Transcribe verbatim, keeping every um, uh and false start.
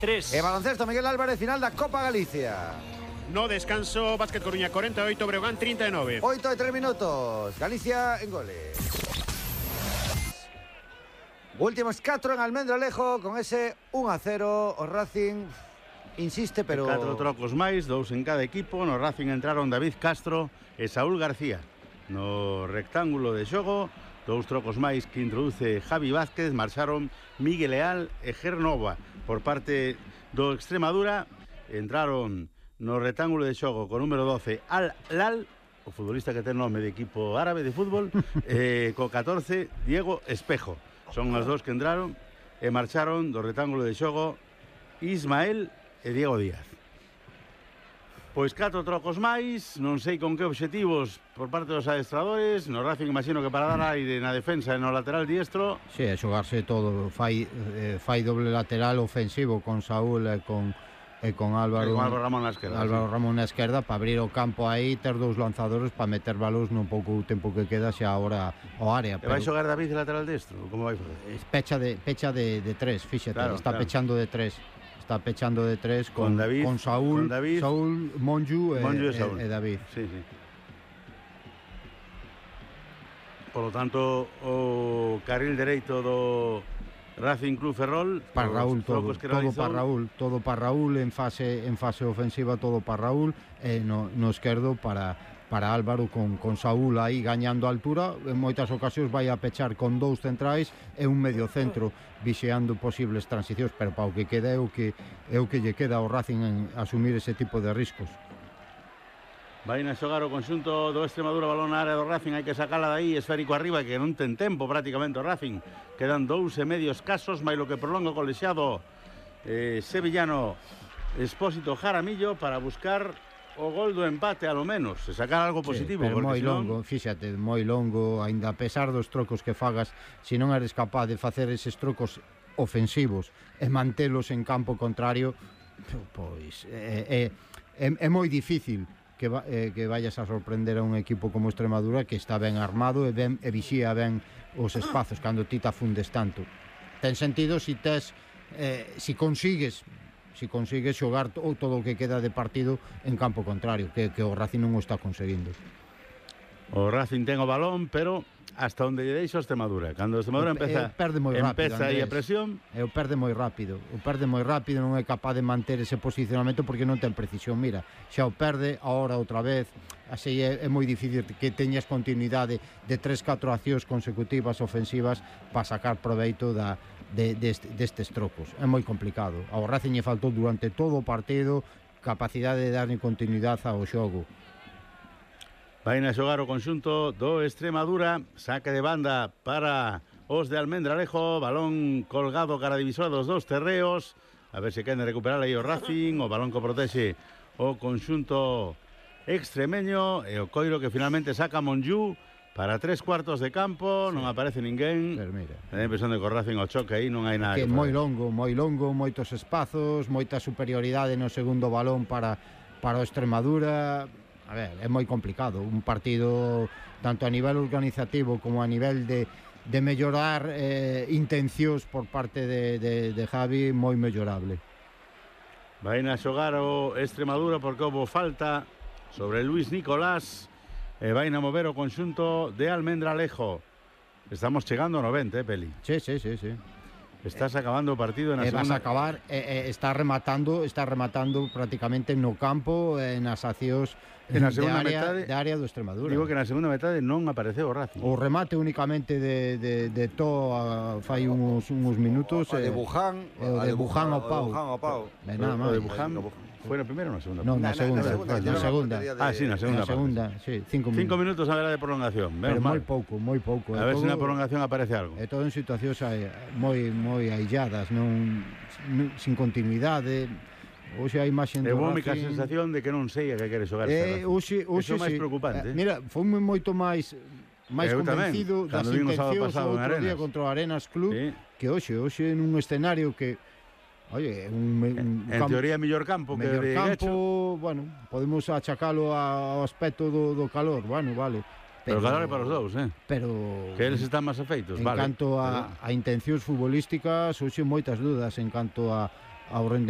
tres. E baloncesto, Miguel Álvarez, final da Copa Galicia. No descanso, Básquet Coruña corenta e oito, Breogán trinta e nove. oito e tres minutos, Galicia en goles. Últimos catro en Almendralejo, con ese un a cero, o Racing insiste, pero... Catro trocos máis, dous en cada equipo. No Racing entraron David Castro e Saúl García. No rectángulo de xogo, dous trocos máis que introduce Javi Vázquez, marcharon Miguel Leal e Gernova. Por parte do Extremadura, entraron no rectángulo de xogo con número doce Al Lal, o futbolista que ten nome de equipo árabe de fútbol, e co catorce Diego Espejo. Son as dous que entraron e marcharon do rectángulo de xogo Ismael e Diego Díaz. Pois catro trocos máis, non sei con que obxectivos por parte dos adestradores. No Racing imagino que para dar aire na defensa e no lateral diestro. Si, sí, a xogarse todo, fai, eh, fai doble lateral ofensivo con Saúl e con, e con Álvaro, e con Álvaro Ramón na esquerda, Álvaro sí. Ramón na esquerda, para abrir o campo aí, ter dous lanzadores para meter balóns no pouco tempo que queda xa agora ao área. E vai xogar David de lateral destro? Como vai fazer? Pecha de, pecha de, de tres, fíxate, claro, está claro. pechando de tres. Está pechando de tres con, con, David, con Saúl, con David, Saúl, Monju e, Monju e, Saúl. e, e David. Sí, sí. Por lo tanto, o carril dereito do Racing Club Ferrol para Raúl todo, todo para Raúl, todo para Raúl en fase en fase ofensiva, todo para Raúl e no, no esquerdo para para Álvaro con, con Saúl aí gañando altura. En moitas ocasións vai a pechar con dous centrais e un medio centro vixeando posibles transicións, pero para o que queda é o que é o que lle queda ao Racing en asumir ese tipo de riscos. Vai a xogar o conxunto do Extremadura, balón na área do Racing, hai que sacala dai, esférico arriba, que non ten tempo prácticamente o Racing. Quedan dous e medios casos, máis lo que prolonga o colexiado eh, sevillano Expósito Jaramillo para buscar o gol do empate, a lo menos, se sacar algo positivo. Sí, pero moi senón... longo, fíxate, moi longo, aínda a pesar dos trocos que fagas, se non eres capaz de facer eses trocos ofensivos e mantelos en campo contrario, pois é, é, é, é moi difícil que, va, eh, que vayas a sorprender a un equipo como Extremadura, que está ben armado e, ben, e vixía ben os espazos cando ti te afundes tanto. Ten sentido se tes eh, si consigues si consigues xogar todo o que queda de partido en campo contrario, que, que o Racing non o está conseguindo. O Racing ten o balón, pero hasta onde lle deixa o Extremadura. Cando o Extremadura empeza, e perde moi rápido, empeza aí a presión, e o perde moi rápido, o perde moi rápido, non é capaz de manter ese posicionamento porque non ten precisión. Mira, xa o perde, agora outra vez, así é, é moi difícil que teñas continuidade de tres catro accións consecutivas ofensivas para sacar proveito da De, deste, destes trocos. É moi complicado. Ao Racing lle faltou durante todo o partido capacidade de darle continuidade ao xogo. Vai a xogar o conxunto do Extremadura, saque de banda para os de Almendralejo, balón colgado cara divisora dos dos terreos, a ver se queren recuperar aí o Racing, o balón que protege o conxunto extremeño e o coiro que finalmente saca Monju para tres cuartos de campo, sí. Non aparece ninguén. Pero mira, ten a impresión de que o Racing o choque aí non hai nada que, que moi longo, moi longo, moitos espazos, moita superioridade no segundo balón para, para o Extremadura. A ver, é moi complicado un partido tanto a nivel organizativo como a nivel de, de mellorar eh, intencións por parte de, de, de Javi, moi mellorable. Vai a xogar o Extremadura porque houve falta sobre Luis Nicolás. E vai a mover o conxunto de Almendralejo. Estamos chegando ao noventa, eh, Peli? Sí, sí, sí, sí. Estás acabando o partido na e segunda... vas a acabar, eh, eh, está rematando está rematando prácticamente no campo, eh, nas accións en a segunda de área, metade, de área do Extremadura. Digo que na segunda metade non apareceu o Racing. O remate únicamente de, de, de To a, fai uns, uns minutos. O de Buján. O de Buján ao pau. O pau. O de Buján foi na primeira ou na segunda? Non, na segunda. Na segunda. Ah, sí, na segunda. Na segunda, sí, cinco minutos. Cinco minutos a ver de prolongación. Pero moi pouco, moi pouco. A ver se na prolongación aparece algo. É todo en situacións moi moi ailladas, non sin continuidade. Hoxe a imaxe do Racing... É única Racing... sensación de que non sei a que quere xogar este Racing. Hoxe, hoxe, Iso é máis sí. preocupante. Eh, mira, foi moito máis máis Eu convencido tamén, das intencións o outro día contra o Arenas Club, sí. Que hoxe, hoxe nun escenario que oye, un, un en campo, teoría mellor campo que mellor de campo, Guecho. Bueno, podemos achacalo ao aspecto do, do calor, bueno, vale. Pero, pero calor é para os dous, eh? Pero que eles están máis afeitos, en vale. En canto a, a intencións futbolísticas, hoxe moitas dudas en canto a ao rendemento